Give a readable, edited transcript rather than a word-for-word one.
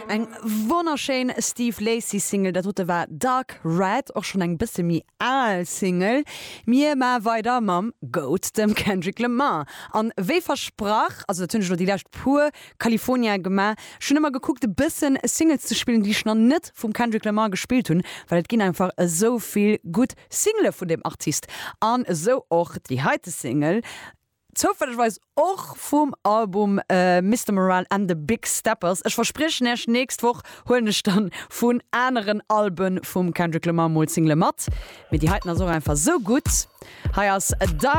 Eng wonnerschéin Steve Lacy Single, dat dote war Dark Red, och schonn eng bësse méi al Single. Mir maache weider mam Goat, dem Kendrick Lamar. An wéi versprach, also dat hunn ech elo déi lescht puer California gemaach, ech hunn ëmmer gekuckt e bëssen Singles ze spillen, déi ech nach net vum Kendrick Lamar gespillt hunn, well et ginn einfach esou vill gutt Single vun deem Artist. An esou och déi heite Single. Zoufällegerweis och vum Album Mister Morale and the Big Steppers. Ech verspriechen Iech, nächst Woch huelen ech dann vun aneren Alben vum Kendrick Lamar mol Single mat. Mee déi heiten ass och einfach sou gutt. Hei ass Die.